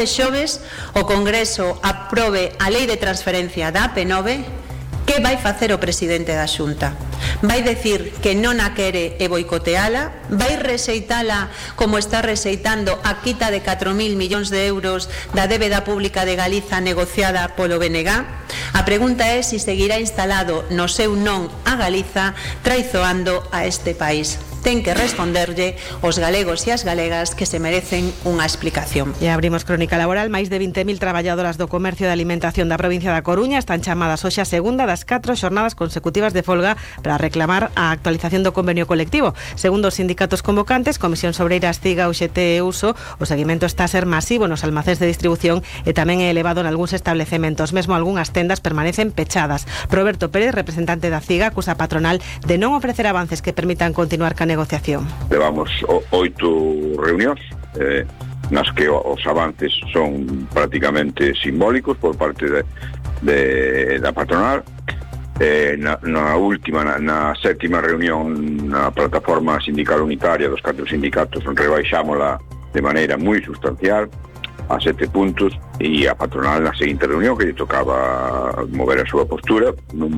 de xoves o Congreso aprobe a lei de transferencia da AP9, que vai facer o presidente da Xunta? Vai decir que non a quere e boicoteala? Vai rexeitala como está rexeitando a quita de 4.000 millóns de euros da débeda pública de Galiza negociada polo BNG? A pregunta é se seguirá instalado no seu non a Galiza, traizoando a este país. Ten que responderlle os galegos e as galegas que se merecen unha explicación. E abrimos crónica laboral. Máis de 20.000 traballadoras do comercio de alimentación da provincia da Coruña están chamadas hoxe a segunda das 4 xornadas consecutivas de folga para reclamar a actualización do convenio colectivo. Segundo os sindicatos convocantes, Comisións Obreiras, CIGA, UGT e USO, o seguimento está a ser masivo nos almacéns de distribución e tamén é elevado en algúns establecementos. Mesmo algunhas tendas permanecen pechadas. Roberto Pérez, representante da CIGA, acusa a patronal de non ofrecer avances que permitan continuar ca negociación. Levamos 8 reunións nas que os avances son prácticamente simbólicos por parte da patronal. Na última, na sétima reunión na plataforma sindical unitaria dos 4 sindicatos, rebaixámola de maneira moi sustancial a 7 puntos, e a patronal na seguinte reunión que lle tocaba mover a súa postura, non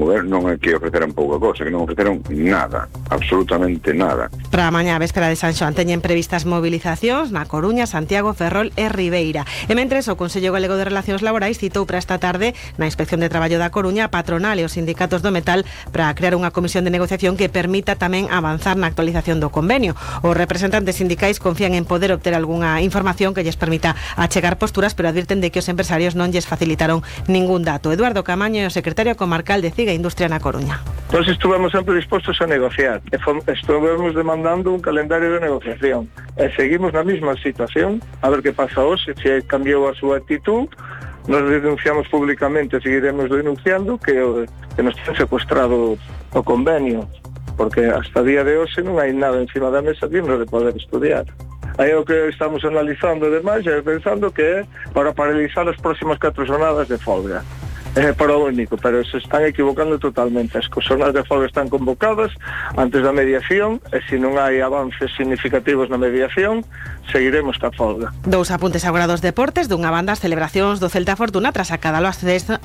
é que ofreceran pouca cosa, que non ofreceron nada, absolutamente nada. Para mañá, véspera de San Xoán, teñen previstas movilizacións na Coruña, Santiago, Ferrol e Ribeira. E mentres, o Consello Galego de Relacións Laborais citou para esta tarde na Inspección de Traballo da Coruña a patronal e os sindicatos do metal para crear unha comisión de negociación que permita tamén avanzar na actualización do convenio. Os representantes sindicais confían en poder obter algunha información que lles permita achegar posturas, pero advirten de que os empresarios non lles facilitaron ningún dato. Eduardo Camaño, o secretario comarcal de CIGA Industria na Coruña. Nós estuvemos sempre dispostos a negociar, estuvemos demandando un calendario de negociación e seguimos na mesma situación. A ver que pasa hoxe, se cambiou a súa actitud. Nos denunciamos públicamente, seguiremos denunciando que nos ten secuestrado o convenio, porque hasta día de hoxe non hai nada encima da mesa digno de poder estudiar. Aí o que estamos analizando demais é pensando que é para paralizar as próximas 4 jornadas de folga. É para o único, pero se están equivocando totalmente. As jornadas de folga están convocadas antes da mediación, e se non hai avances significativos na mediación, seguiremos ca folga. Dous apuntes agora dos deportes. Dunha banda, as celebracións do Celta Fortuna tras acadalo ascenso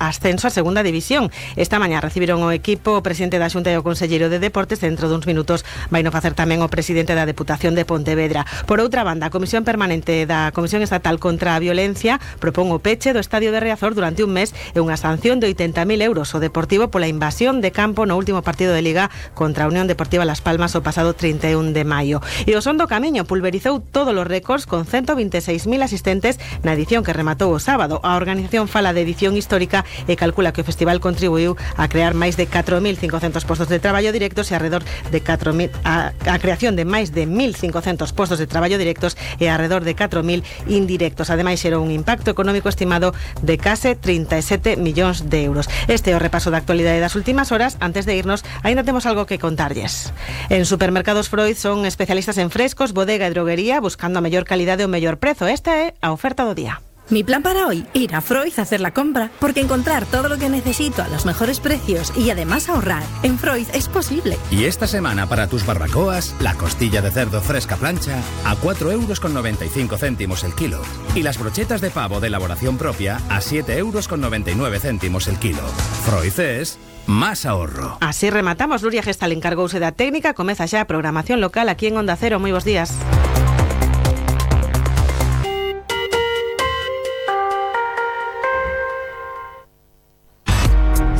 a segunda división. Esta mañá recibiron o equipo o presidente da Xunta e o conselleiro de Deportes. Dentro duns minutos vai no facer tamén o presidente da Deputación de Pontevedra. Por outra banda, a Comisión Permanente da Comisión Estatal contra a Violencia propón o peche do Estadio de Riazor durante un mes e unha sanción de 80.000 euros ao Deportivo pola invasión de campo no último partido de Liga contra a Unión Deportiva Las Palmas o pasado 31 de maio. E o Son do Camiño pulverizou todos os récords con 126.000 asistentes na edición que rematou o sábado. A organización fala de edición histórica e calcula que o festival contribuiu a crear máis de 4.500 postos de traballo directos e alrededor de 4.000 a creación de máis de 1.500 postos de traballo directos e alrededor de 4.000 indirectos. Ademais, xerou un impacto económico estimado de case 37 millóns de euros. Este é o repaso da actualidade das últimas horas. Antes de irnos, aínda temos algo que contarlles. En Supermercados Freud son especialistas en frescos, bodega e droguería, buscando a mellor calidade e o mellor prezo. Esta é a oferta do día. Mi plan para hoy, ir a Freud a hacer la compra, porque encontrar todo lo que necesito a los mejores precios y además ahorrar en Freud es posible. Y esta semana para tus barbacoas, la costilla de cerdo fresca plancha a 4,95 € el kilo y las brochetas de pavo de elaboración propia a 7,99 € el kilo. Freud es más ahorro. Así rematamos. Nuria Gestal encargouse da técnica. Comeza xa a programación local aquí en Onda Cero. Moi bons días.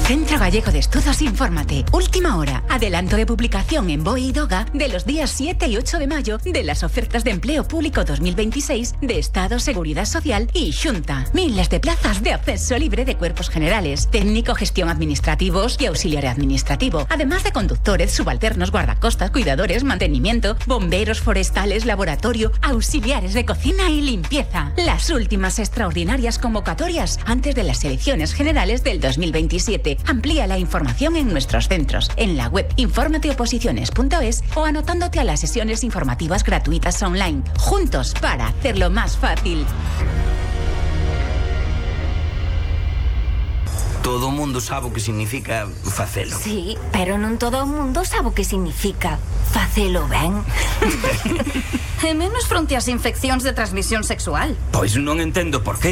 Centro Gallego de Estudos, infórmate. Última hora. Adelanto de publicación en BOE y DOGA de los días 7 y 8 de mayo de las ofertas de empleo público 2026 de Estado, Seguridad Social y Xunta. Miles de plazas de acceso libre de cuerpos generales, técnico, gestión administrativos y auxiliar administrativo. Además de conductores, subalternos, guardacostas, cuidadores, mantenimiento, bomberos forestales, laboratorio, auxiliares de cocina y limpieza. Las últimas extraordinarias convocatorias antes de las elecciones generales del 2027. Amplía la información en nuestros centros, en la web informateoposiciones.es o anotándote a las sesiones informativas gratuitas online. Juntos para hacerlo más fácil. Todo mundo sabe o que significa facelo. Sí, pero non todo o mundo sabe o que significa facelo ben. E menos fronte ás infeccións de transmisión sexual. Pois non entendo por qué.